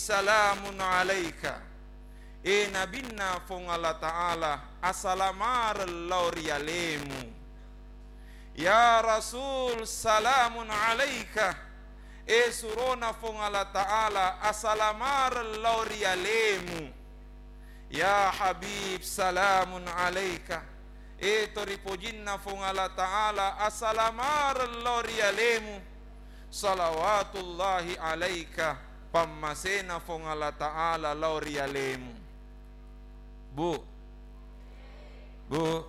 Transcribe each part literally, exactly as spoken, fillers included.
salamun alaika. E Nabinna Fuang Allah Ta'ala, asalamareng lao ri alemu. Ya Rasul, salamun alaika. E surona Fuang Allah Ta'ala, asalamareng lao ri alemu. Ya Habib, salamun alaika. E to ripojinna Fuang Allah Ta'ala, asalamareng lao ri alemu. Salawatullahi alaika, pammasena Fuang Allah Ta'ala lao ri alemu. Bu. Bu.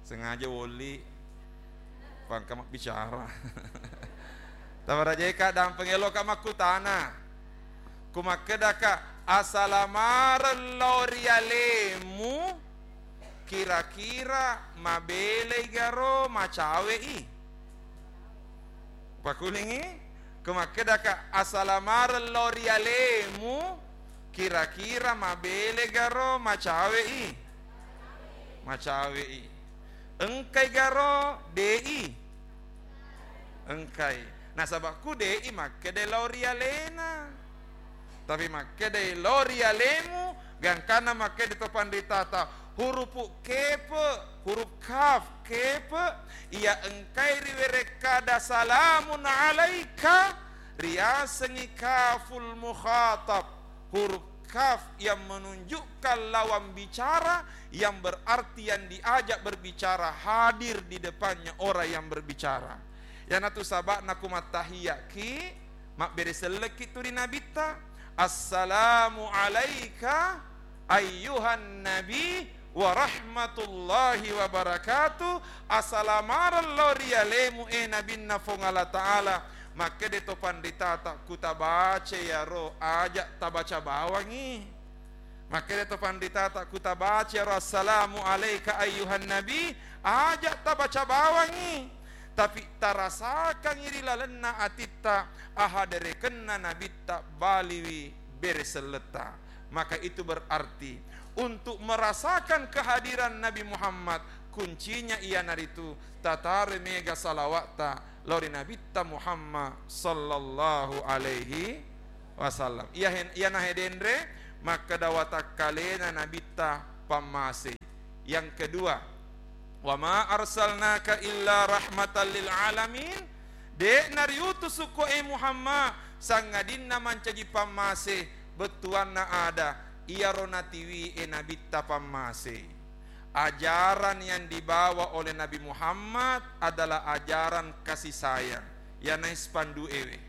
Sengaja woli. Pangka mabbicara. Tabarajeka dampeng eloka makkutana. Ku makkedaka, asalamareng lao ri alemu, kira-kira mabelei garo macawe'i? Pakulingi, ku makkedaka, asalamareng lao ri alemu, kira-kira mabele garo macawe'i? Macawe'i. Engkai garo de'i? Engkai. Nasaba ku de'i makkeda lao ri alena. Tapi makkedai lao ri alemu, gangkanna makkeda to panritata, hurupu kepe, huruf kaf, kepe, iya engkai riwerekkada salamun alaika, riasengngi kaful mukhatab, huruf kaf yang menunjukkan lawan bicara, yang berarti yang diajak berbicara hadir di depannya orang yang berbicara. Iyanatu saba'na ku mattahiyaki, mabbere sellekki tu ri Nabitta, "Assalamu alaika ayyuhan nabi wa rahmatullahi wa barakatuh." Asalamareng lao ri alemu, e Nabinna Fuang Allah Ta'ala. Makkeda to panritata, ku tabaca iyaro, aja tabaca bawangngi. Makkeda to panritata, ku tabaca iyaro, "Assalamu alaika ayyuhan nabi," aja tabaca bawangngi. Tapi tarasakangngi ri lalenna atitta, ahaderekenna Nabitta baliwi bere selletta. Maka itu berarti untuk merasakan kehadiran Nabi Muhammad, kuncinya iyanaritu tatare mega salawatta lao ri Nabitta Muhammad sallallahu alaihi wasallam. Iya hen-, iyana hedenre makkeda watakkalena Nabitta pammase. Yang kedua, "Wa ma arsalnaka illa rahmatan lil alamin." De' nariutusukko e Muhammad sangadinna mancaji pammase bettuanna ada, iyaro natiwi e Nabitta pammase. Ajaran yang dibawa oleh Nabi Muhammad adalah ajaran kasih sayang. Iyana spanduk ewe.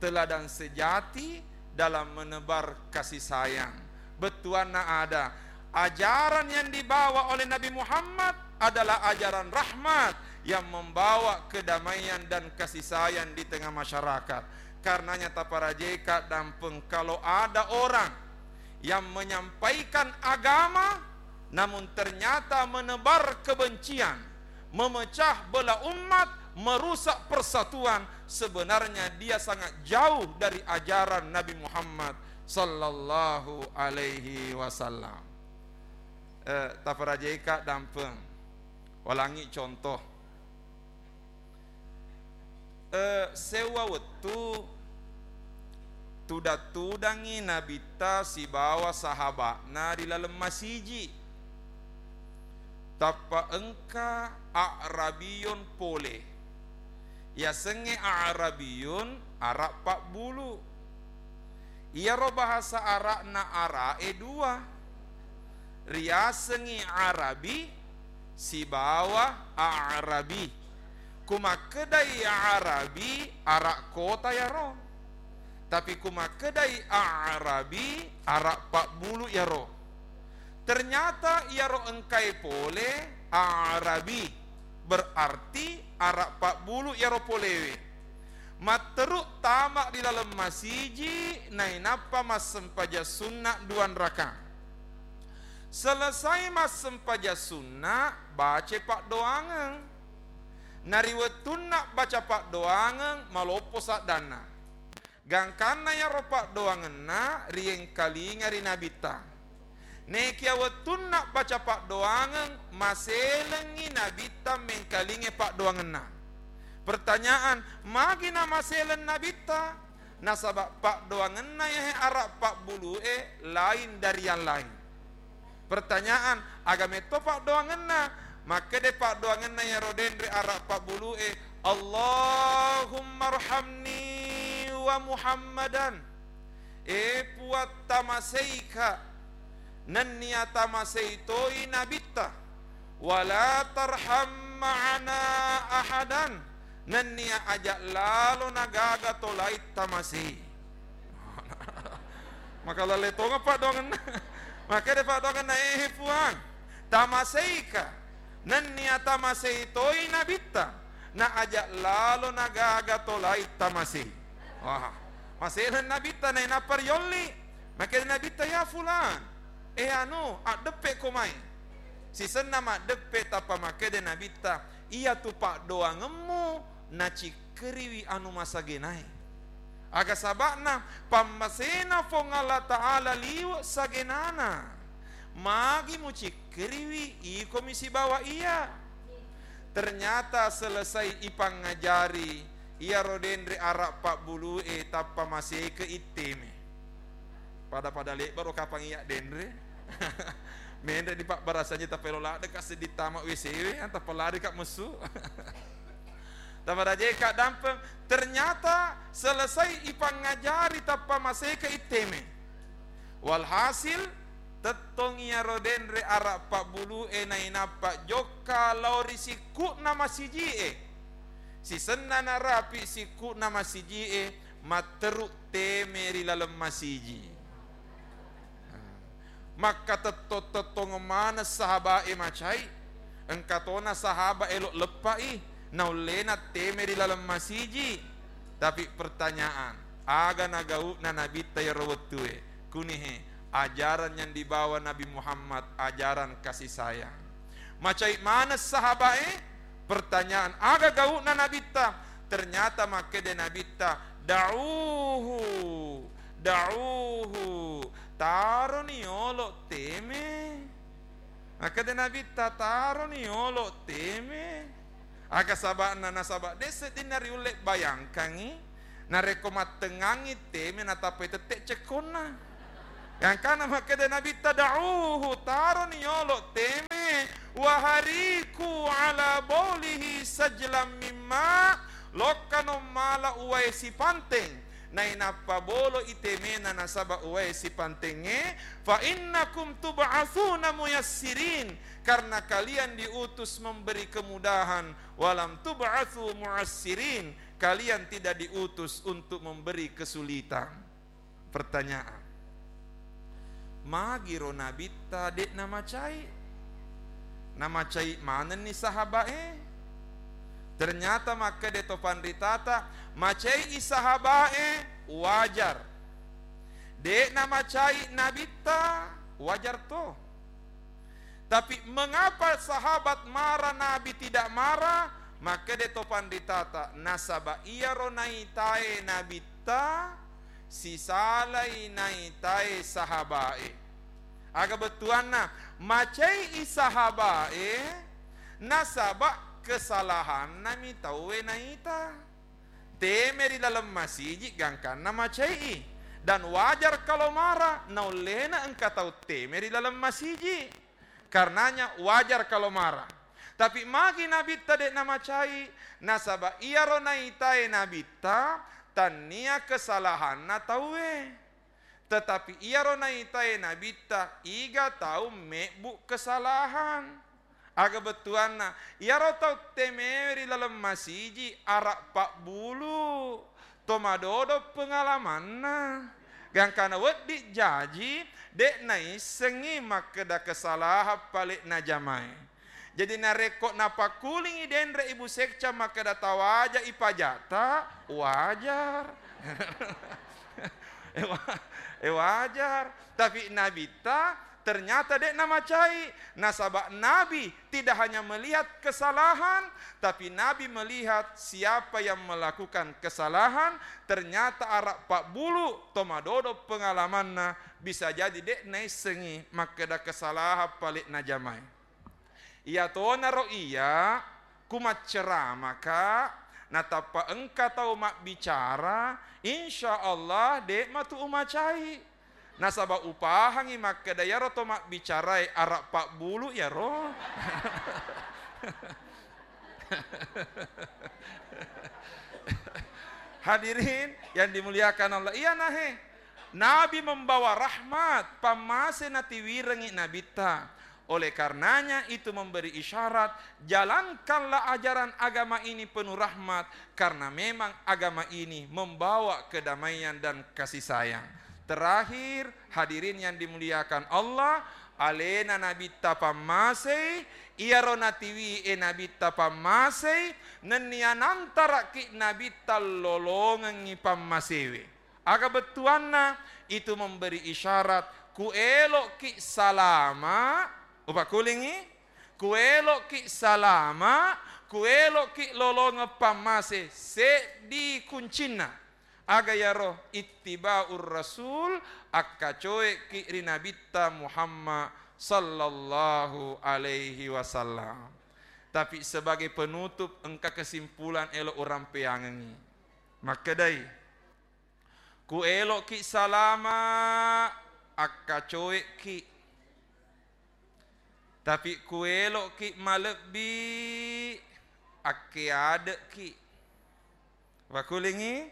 Teladan sejati dalam menebar kasih sayang. Bettuanna ada, ajaran yang dibawa oleh Nabi Muhammad adalah ajaran rahmat yang membawa kedamaian dan kasih sayang di tengah masyarakat. Karenanya taparajeka dampeng, kalau ada orang yang menyampaikan agama namun ternyata menebar kebencian, memecah belah umat, merusak persatuan, sebenarnya dia sangat jauh dari ajaran Nabi Muhammad sallallahu alaihi wasallam. Eh, taparajeka dampeng. Walangi contoh. Eh, sewwa wettu tudang-tudangngi Nabitta sibawa sahaba'na ri laleng masiji. Tappa engka A'rabiyun pole. Yasengnge A'rabiyun, Arab pabbulu. Iyaro bahasa Arabna Ara'e dua. Riasengngi Arabi sibawa A'rabi. Ku makkedai Arabi, Arab kota yaro. Tapi ku makkedai A'rabi, Arab pabbulu yaro. Ternyata iyaro engkae pole A'rabi, berarti Arab pabbulu yaro polewe. Matteru tama ri laleng masiji, nainappa massempajang sunna duanraka. Selesai massempajang sunna, bace paddoangeng. Na ri wettunna baca paddoangeng, maloppo saddanna. Gangkanna iyaro paddoangenna riengkalinga ri Nabitta. Nekia wettunna baca paddoangeng, maselengngi Nabitta mengkalingai paddoangenna. Pertanyaan, magi namaseleng Nabitta? Nasaba paddoangenna iyahe ara pabbulu'e lain dari yang lain. Pertanyaan, aga metto paddoangenna? Makkeda paddoangenna iyaro denre ara pabbulu'e, "Allahummarhamni wa Muhammadan." E Puang, tamaseika nennia tamasei toi nabitta. "Wala tarham ma'ana ahadan." Nennia aja lalo nagaga to laing tamasei. Maka lalle tonga paddoangenna. Makkeda paddoangenna, "Eh Puang, tamaseika nennia tamasei toi nabitta, na aja lalo nagaga to laing tamasei." Wah, masena nabitta nainappa riolli. Makkeda nabitta, "Ya Fulan, eh anu, addeppe ko mai." Sisenna maddeppe tappa makkeda nabitta, "Iyatu paddoangemmu nacikkeriwi anu masagenae." Aga saba'na? Pammasena Puang Allah Ta'ala liwe' sagenana. Magi mucikkeriwi, ikomi sibawa iya. Ternyata selesai ipangajari, iyaro denre ara pabbulu'e tappa maseke itteme. Pada-pada lebbaro kapang iya denre. Menre di pabbarasannya tappa elo ladde ka seddi tama W C we, tappa lari ka messu. Tappa rajai ka dampeng. Ternyata selesai ipangajari tappa maseke itteme. Walhasil, tettong iyaro denre ara pabbulu'e nainappa jokka lao ri sikku'na masiji'e. Sisenna narapi sikku'na masiji'e, matteru teme ri laleng masiji. Makkatettong-tettong maneng sahaba'e macai. Engka tona sahaba elo leppai, naullena teme ri laleng masiji. Tapi pertanyaan, aga nagau'na nabitta iyaro wettue? Kunihe, ajaran yang dibawa Nabi Muhammad, ajaran kasih sayang. Macai maneng sahaba'e, pertanyaan, aga gau'na nabitta? Ternyata makkeda nabitta, "Da'uhu, da'uhu, taroni yolo teme." Makkeda nabitta, "Taroni yolo teme." Aga saba'na? Nasaba de' seddinna riulle bayangkangi, narekko mattengngangi teme natappai tette cekkonna. Gangkana makkeda nabitta, "Da'uhu, taroni yolo teme, wahariku ala baulihi sajlam mimma, lokkano mala uwae sipanteng, nainappa bolo i temena nasaba uwae sipantengnge, fa innakum tub'atsuna muyassirin, karena kalian diutus memberi kemudahan, walam tub'atsu mu'assirin, kalian tidak diutus untuk memberi kesulitan." Pertanyaan, magiro nabitta de' namacai? Namacai manenni sahaba'e? Ternyata makkeda to panritata, macai i sahaba'e, wajar. De' namacai nabitta, wajar to. Tapi mengapa sahabat marah, Nabi tidak marah? Makkeda to panritata, nasaba iyaro naitae nabitta sisalai naitae sahaba'e. Aga bettuanna? Macai i sahaba'e nasaba kesalahannami tauwe naita. Teme ri laleng masiji gangkanna macai i. Dan wajar kalau marah, naullena engka tau teme ri laleng masiji. Karenanya wajar kalau marah. Tapi magi nabitta de' namacai? Nasaba iyaro naitae nabitta tannia kesalahanna tauwe. Tetapi iyaro naitae nabitta, iga tau mebbu kesalahan. Aga bettuanna, iyaro tau temewe ri laleng masiji ara pabbulu, to madodo pengalamanna. Gangkana wedding jaji, de' naissengngi makkeda kesalahan pale najamae. Jadi narekko napakkulingi denre Ibu Sekca makkeda tawaja i pajata, wajar. Eh, wa-, eh, wajar. Tapi nabitta ternyata de' namacai. Nasaba Nabi tidak hanya melihat kesalahan, tapi Nabi melihat siapa yang melakukan kesalahan, ternyata ara pabbulu, to madodo pengalamanna, bisa jadi de' naissengngi makkeda kesalahan pale najamae. Iyatonaro iya, ku macceramaka, Natappa engka tau mabbicara, insya Allah de' matu umacai. Nasaba upahangi makkeda iyaro to mabbicarae ara' pabbulu iyaro. Hadirin yang dimuliakan Allah, iya nahe. Nabi membawa rahmat, pammase natiwirengngi nabitta. Oleh karenanya itu memberi isyarat, jalankanlah ajaran agama ini penuh rahmat, karena memang agama ini membawa kedamaian dan kasih sayang. Terakhir, hadirin yang dimuliakan Allah, alena nabitta pammasei, iyaro natiwie nabitta pammasei, nennia nantaraki nabitta lolongengngi pammasewe. Aga bettuanna? Itu memberi isyarat, ku elo'ki salama, upakulingi, ku elo'ki salama, ku elo'ki lolongeng pammase, seddi kuncinna. Aga yaro? Ittiba'ur Rasul, akkacoe'ki ri Nabitta Muhammad sallallahu alaihi wasallam. Tapi sebagai penutup, engka kesimpulan elo urampeangengngi. Makkedai, ku elo'ki salama, akkacoe'ki. Tapi ku elo'ki malebbi, akkeade'ki. Wakulingi,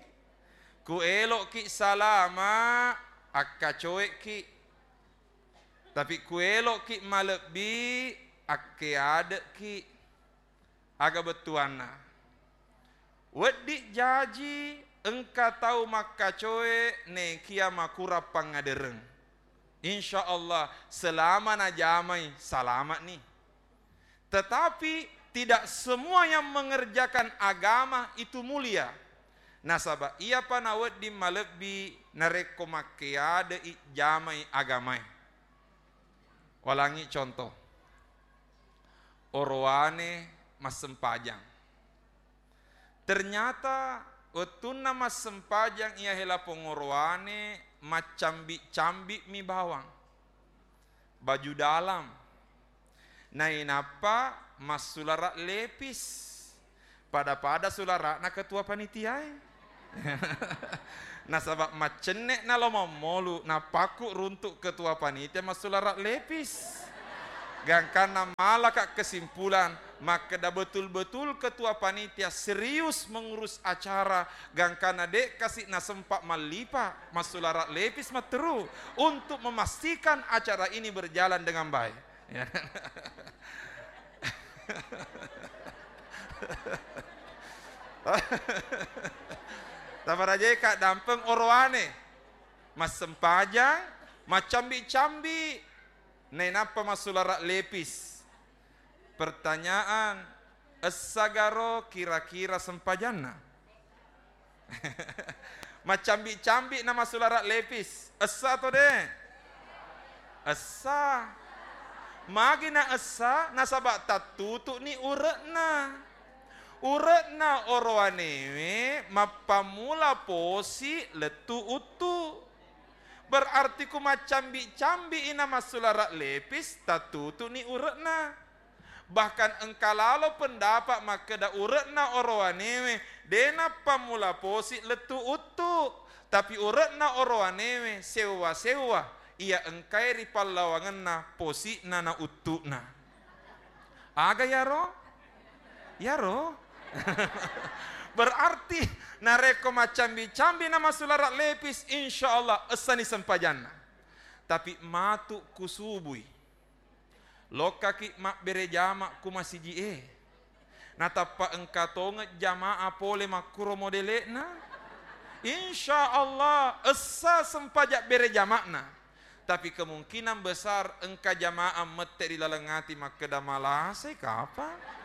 ku elo'ki salama, akkacoe'ki. Tapi ku elo'ki malebbi, akkeade'ki. Aga bettuanna? Wedding jaji engka tau makkacoe nekia makurang pangngadereng. Insya Allah, selama najamai, salamatni. Tetapi tidak semua yang mengerjakan agama itu mulia. Nasaba iyapa nawedding malebbi narekko makkeade'i jamai agamae. Walangi contoh. Orowane massempajang. Ternyata wettunna massempajang iyahe lapong orowane maccambi-cambi'mi bawang, baju dalam, nainappa massulara lepis. Pada-pada sulara'na ketua panitiae. Nasaba maccenne'na lo mammolu, napakku runtu ketua panitia massulara lepis. Gangkanna malaka kesimpulan, makkeda betul-betul ketua panitia serius mengurus acara, gangkanna de' kasi nasempa mallipa, massulara lepis matteru untuk memastikan acara ini berjalan dengan baik. Ya. Tabarajai ka dampeng orowane, massempajang, maccambi-cambi, nainappa massulara lepis. Pertanyaan, essagaro kira-kira sempajanna? Maccambi-cambi na massulara lepis. Essa atau de'? Essa. Magi na essa? Nasaba tattutu'ni ure'na. Ure'na orowanewe mappammula posi lettu uttu. Berarti ku maccambi-cambi i na massulara lepis, tattutu'ni ure'na. Bahkan engka lalo pendapat makkeda ure'na orowanewe de' nappammula posi lettu uttu, tapi ure'na orowanewe sewwa-sewwa iya engkae ri pallawangenna posi'na na uttu'na. Aga yaro? Yaro? Berarti narekko maccambi-cambi na massulara lepis, insya Allah essani sempajanna. Tapi matu kusubui. Lokkaki mabbere jama ku masiji'e. Natappa engka tongeng jamaah pole makkuro modele'na. Insya Allah, essa sempaja bere jama'na. Tapi kemungkinan besar engka jamaah mette ri laleng ati makkeda, "Malasai kapang?"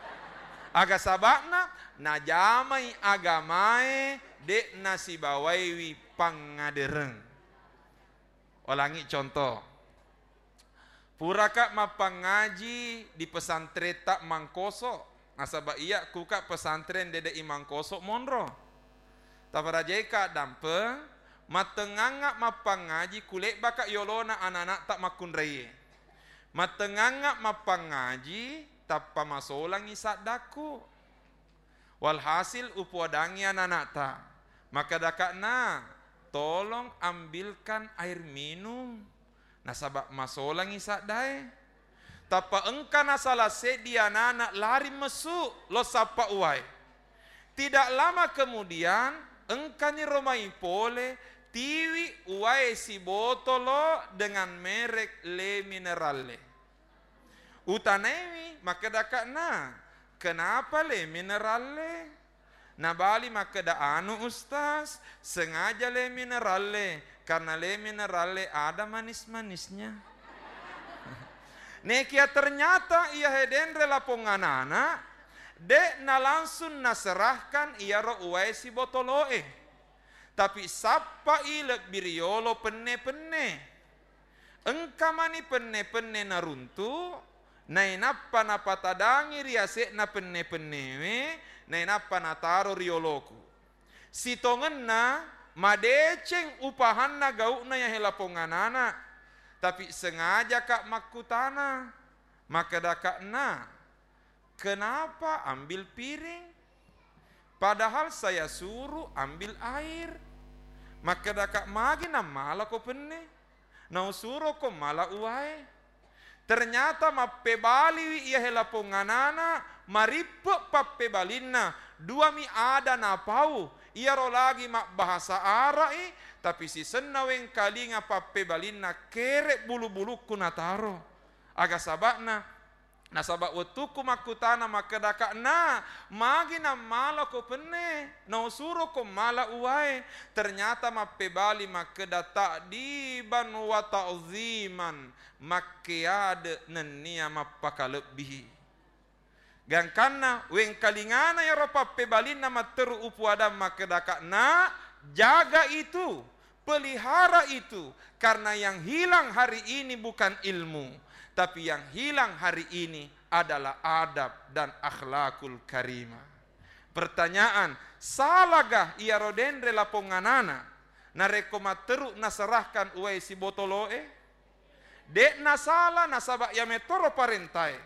Aga saba'na? Najamai agamae, de' nasibawaiwi pangngadereng. Ulangi contoh. Puraka mappangngaji di pesantretta Mangkoso? Nasaba iya kuka pesantren dede i Mangkoso monro. Tabarajaika dampeng, mattengngangnga mappangngaji kulebbaka yolona anana'ta makkunraie. Mattengngangnga mappangngaji tappa masolangi saddakku. Walhasil, upoadangngi anana'ta. Makkedaka'na, "Tolong ambilkan air minum, nasaba masolangngi saddae." Tappa engka nasala seddi anana lari messu lao sappa uwae. Tidak lama kemudian, engkani ro mai pole, tiwi uwae sibotolo dengan merek Le Mineralle. Utanaiwi, makkedaka'na, "Kenapa Le Mineralle?" Nabali makkeda, "Anu, Ustaz, sengaja Le Mineralle, karena Le Mineralle ada manis-manisnya." Nekia ternyata iyahe denre lapong anana, de' nalangsung naserahkan iyaro uwae sibotolo'e. Tapi sappai lebbi riyolo penne-penne. Engka mani penne-penne naruntu, nainappa napatadangi ri ase'na penne-pennewe, nainappa nataro ri yoloku. Sitongenna madeceng upahanna gau'na iyahe lapong anana, tapi sengajaka makkutana, makkedaka'na, "Kenapa ambil piring? Padahal saya suruh ambil air." Makkedaka, "Magi nammalako penne? Nausuroko mala uwae." Ternyata mappebaliwi iyahe lapong anana, marippe pappebalinna, duami ada napau, iyaro lagi mabbahasa Ara'i, tapi sisenna wengkalinga pappebalinna kere bulu-bulukku nataro. Aga saba'na? Nasaba wettukku makkutana makkedaka'na, "Magi nammalako penne, nausuroko mala uwae?" Ternyata mappebali makkeda, "Ta'diban wa ta'ziman, makkeade nennia mappakalebbihi." Gangkanna wengkalingana iyaro pappebalinna matteru upoadang makkedaka'na, "Jaga itu." Pelihara itu, karena yang hilang hari ini bukan ilmu, tapi yang hilang hari ini adalah adab dan akhlakul karimah. Pertanyaan, salagah iyaro denre lapong anana narekko matteru naserahkan uwae sibotolo'e? De'na sala, nasaba iya metoro parentae.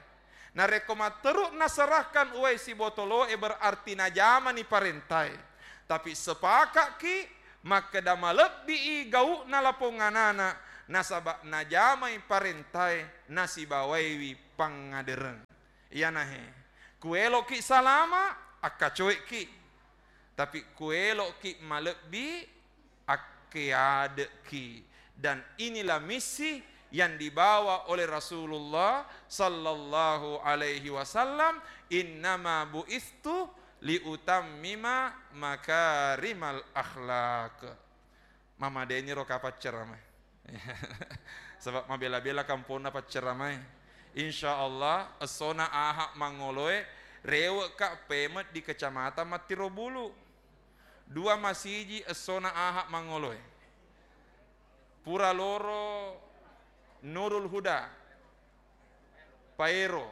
Narekko matteru naserahkan uwae sibotolo'e, berarti najamani parentae. Tapi sepaka'ki makkeda malebbi'i gau'na lapong anana, nasaba najamai parentae nasibawaiwi pangngadereng. Iyanahe, kuelo'ki salama, akkacoe'ki. Tapi kuelo'ki malebbi, akkeade'ki. Dan inilah misi yang dibawa oleh Rasulullah sallallahu alaihi wasallam, "Innama bu'istu liutammima makarimal akhlak." Mamadeniro kapang ceramae. Sebab mabela-bela kamponna pacceramae. Insya Allah, essona Aha mangoloe, rewe'ka pemet di Kecamatan Mattirobulu. Dua masiji essona Aha mangoloe. Pura loro Nurul Huda, Paero.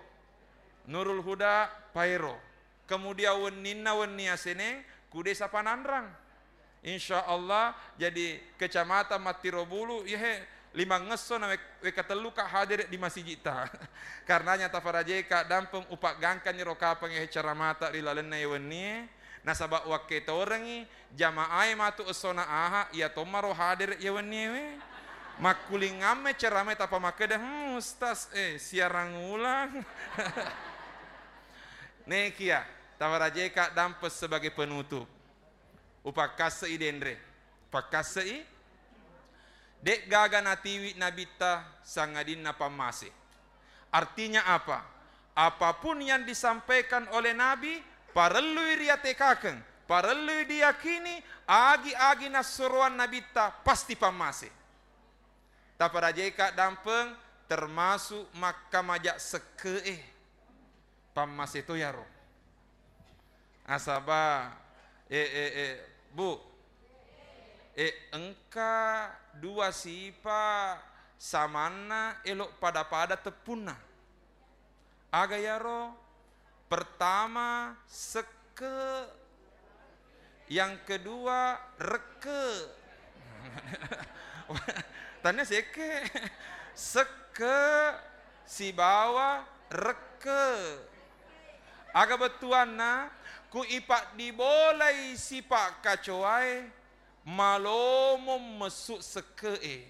Nurul Huda, Paero. Kemudian wenninna wenni aseneng ku Desa Pananrang. Insya Allah, jadi Kecamatan Mattirobulu, iyahe limangesso na wek-, wekatelluka hadere di masijitta. Karenanya tafarajeka dampeng upaggangkanni ro kapang iyahe ceramata ri lalenna iye wennie. Nasaba wakketorengngi jamaae matu essona Aha, iya tommaro hadere iya wenniewe. Makkulingamme ceramae tappa makkeda, "Hmm, Ustaz, eh, siarang ulang." Nekia, tawarajeka dampeng sebagai penutup. Upakkassei denre. Pakkassei. De'gaga natiwi nabitta sangadinna pammase. Artinya apa? Apapun yang disampaikan oleh Nabi, parellui riatekakeng, parellui diyakini, agi-agi nassuroang Nabitta pasti pammase. Taparajeka dampeng, termasuk makkamaja sekke'e. Pammase to yaro. Nasaba, eh, eh, eh, Bu, eh, engka dua sipa samanna elo pada-pada teppunna. Aga yaro? Pertama, sekke. Yang kedua, rekke. Tania sekke. Sekke sibawa rekke. Aga bettuanna? Ku ipaddibolai sipa' kacoae, malomo messu sekke'e.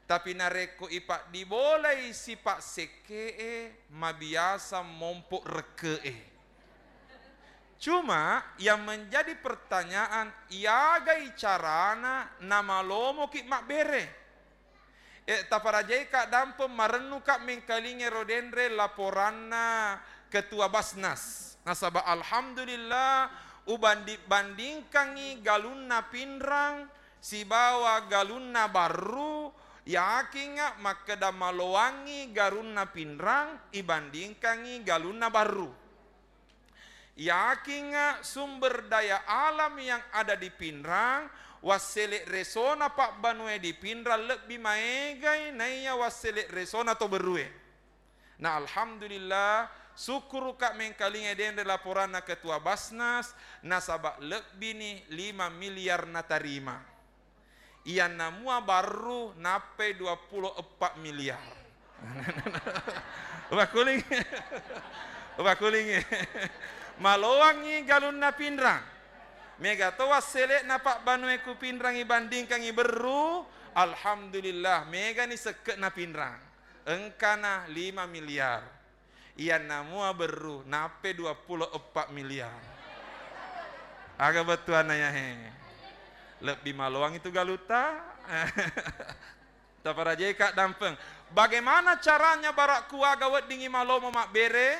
Tapi narekko ipaddibolai sipa' sekke'e, mabiasa mompo' rekke'e. Cuma yang menjadi pertanyaan, iyagai carana namalomoki' mabbere? Eh, taparajaika' dampeng, marennuka' mengkalinga ero denre laporanna Ketua Basnas. Nasaba' alhamdulillah, ubandi-bandingkangngi galunna Pinrang sibawa galunna Barru, yakingnga' makkeda maloangngi galunna Pinrang ibandingkangngi galunna Barru. Yakingnga' sumber daya alam yang ada di Pinrang, wassele' resona pabbanue di Pinrang lebbi maegai naiya wassele' resona to Berrue. Na alhamdulillah, sukkuruka' mengkalinga denre laporanna Ketua Basnas, nasaba' lebbini lima miliar natarima. Iyanna mua Barru nappai dua pulo eppa miliar. Ubakuling. Ubakuling. Maloangngi galunna Pinrang. Mega to wassele'na pabbanue ku Pinrang ibandingkangngi Berru, alhamdulillah, megani sekke'na Pinrang. Engkana lima miliar. Iyanna mua Berru nappai dua pulo eppa miliar. Aga bettuanna yahe? Lebbi maloang itu galutta. Taparajaika' dampeng. Bagaimana caranya bara' kuaga weddingngi malomo mabbere?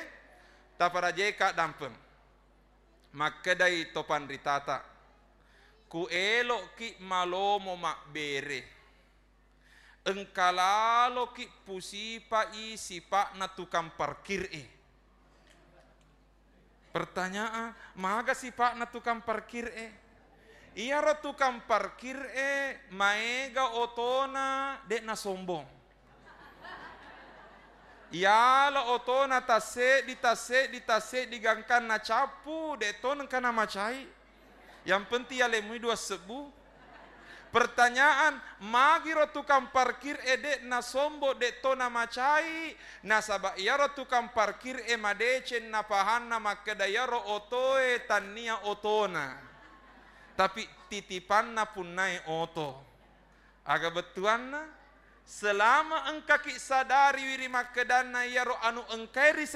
Taparajaika' dampeng. Makkedai to panritata, ku elo'ki' malomo mabbere, engka laloki' pusipa'i sipa'na tukang parkir e. Pertanyaan, maga sipa'na tukang parkir e? Iyaro tukang parkir e maega otona, de' nasombong. Iyala otona tasseddi, tasseddi, tasseddi gangkanna cappu, de' to nengka namacai. Yang penting yalemui dua sebbu. Pertanyaan, magiro tukang parkir e de' nasombong, de' to namacai? Nasaba' iyaro tukang parkir e madeceng napahanna makkeda iyaro otoe tannia otona, tapi titipanna punnae oto. Aga bettuanna? Selama engkaki' sadari wiri makkedanna iyaro anu engkae ri